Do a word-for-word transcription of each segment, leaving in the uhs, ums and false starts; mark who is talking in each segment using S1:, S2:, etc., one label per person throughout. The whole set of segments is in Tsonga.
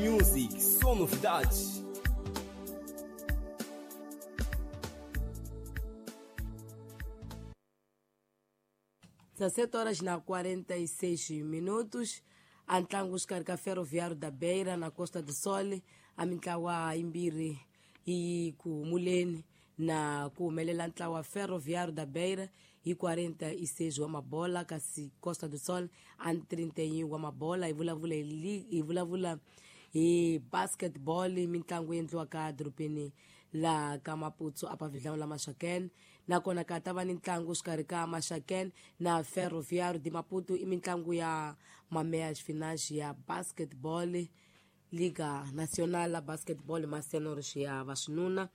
S1: Music, só novidades.
S2: dezessete horas na quarenta e seis minutos. A ntlangu xikarhi ka Ferroviário da Beira na Costa do Sol, a mintlawa yimbirhi yi ku humuleni na ku humelela ntlawa Ferroviário da Beira hi quarenta e seis wa mabola, kasi Costa do Sol a trinta e um wa mabola. Hi vulavula hi hi vulavula hi basketball, mitlangu yi endliwaka dorobeni la ka Maputo apa Vidlão la Maxaquene. Nakona ka ta va ni ntlangu xikarhi ka Maxaquene na Ferroviário de Maputo, i mitlangu ya mameyas finais ya basketball, Liga Nacional la Basketball Masenor ya vaxinuna.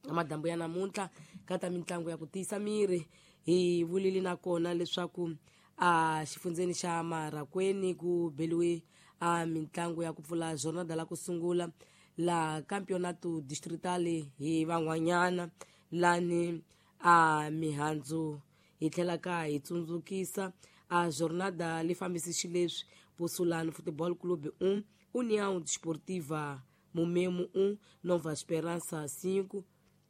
S2: Madambu ya namuntlha ka ta mitlangu ya ku tiyisa miri, hi vulile nakona leswaku a xifundzeni xa Marakweni ku beliwe a mitlangu ya ku pfula jornada la ku sungula la campeonato distrital hi van'wanyana lani a mihandzu. Hi tlhela ka hi tsundzukisa a jornada li fambisi xileswi: Pusulani Football Club um, União Desportiva Momemo um, Nova Esperança cinco,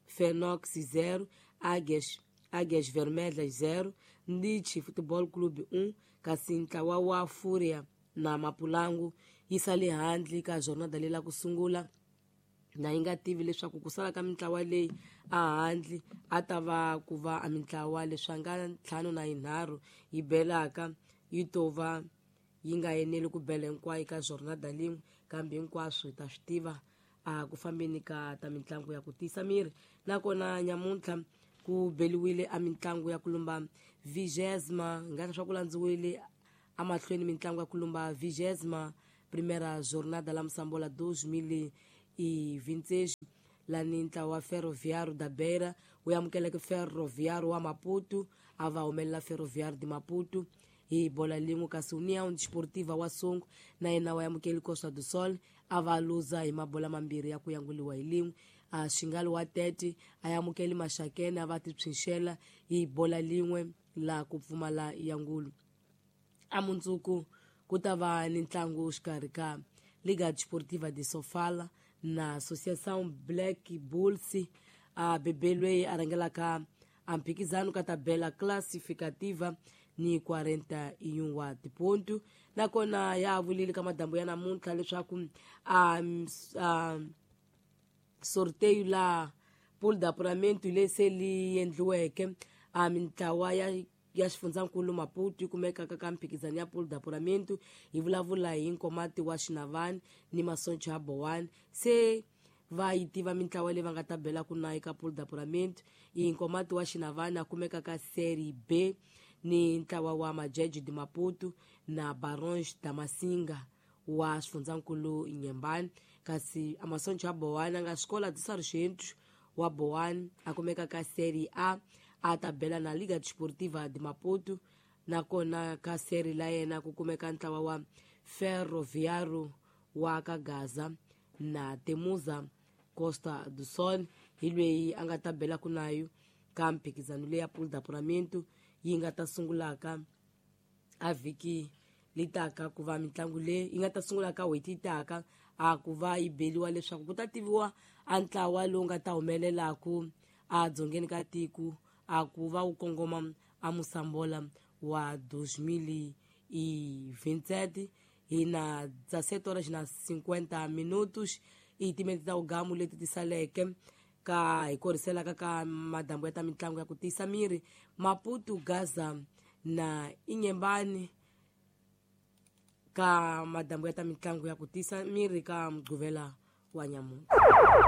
S2: Fenox zero, Águias, Águias Vermelhas zero, Nietzsche Futebol Clube um, kasi ntlawa wa Fúria na Mapulangu yi sale handle ka jornada leyi la ku sungula, na yi nga tivi leswaku ku sala ka mintlawa leyi a handle a ta va ku va a mintlawa leswi nga ntlhanu na yinharhu yi belaka yi to va yi nga eneli ku bela hinkwayo ka jornada lin'we, kambe hinkwaswo hi ta swi tiva a ku fambeni ka ta mitlangu ya ku tiyisa miri. Nakona nyamuntlha ku beliwile a mitlangu ya ku lumba vigésima, hi nga swa ku landziwile amahlweni mitlangu ya ku lumba vigésima primeira jornada la Moçambola dois mil e vinte e seis, lani ntlawa wa Ferroviário da Beira wu amukeleke Ferroviário wa Maputo, a va humelela Ferroviário de Maputo hi bola lin'we, kasi União Desportiva wa Songo na yena wa amukeli Costa do Sol, a va luza hi mabola mambirhi ya ku yanguliwa hi lin'we. A Xingalo wa Tete a amukeli Maxakene, a va tipsinxela hi bola lin'we la ku pfumala yangulu. A mundzuku ku ta va ni ntlangu xikarhi ka Liga Desportiva de Sofala na Associação Black Bulls. A bebe loyi a rhangelaka a mphikizano ka tabela classificativa ni quarenta e um wa tipontu. Nakona ya vulile ka madambu ya namuntlha leswaku a, a sorteio la pool d'apuramento leyi se li endliweke a mintlawa ya ya xifundzankulu Maputo yi kumekaka ka mphikizano ya pool d'apuramento. Hi vulavula hi Nkomati wa Xinavani ni Masoncho ya Bowani, se va yi tiva mintlawa leyi va nga ta bela ku na eka pool d'apuramento. I Nkomati wa Xinavani a kumeka ka Série B ni ntlawa wa Majeje de Maputo na Barões da Massinga wa xifundzankulu Inhambane, kasi Amasoncho ya Bowani a nga Escola de Sargentos wa Bowani a kumeka ka Série A, a ta bela na Liga Desportiva de Maputo. Nakona ka seri la yena ku kumeka ntlawa wa Ferroviário wa ka Gaza na Temuza Costa do Sol, hi loyi a nga ta bela ku nayo ka mphikizano leyi ya pool d'apuramento yi nga ta sungulaka a vhiki litaka ku va mitlangu leyi yi nga ta sungula ka n'hweti yi taka a ku va yi beliwa leswaku ku ta tiviwa a ntlawa lowu nga ta humelelaku a dzongeni ka tiko a ku va wu kongoma a Moçambola wa dois mil e vinte e sete. Hi na dezessete horas na cinquenta minutos i timinete ta ugamu leti ti saleke ka hi koriselaka ka madambu ya ta mitlangu ya ku tiyisa miri. Maputo, Gaza na Inhambane ka madambu ya ta mitlangu ya ku tiyisa miri ka Mugqivela wa nyamuntlha.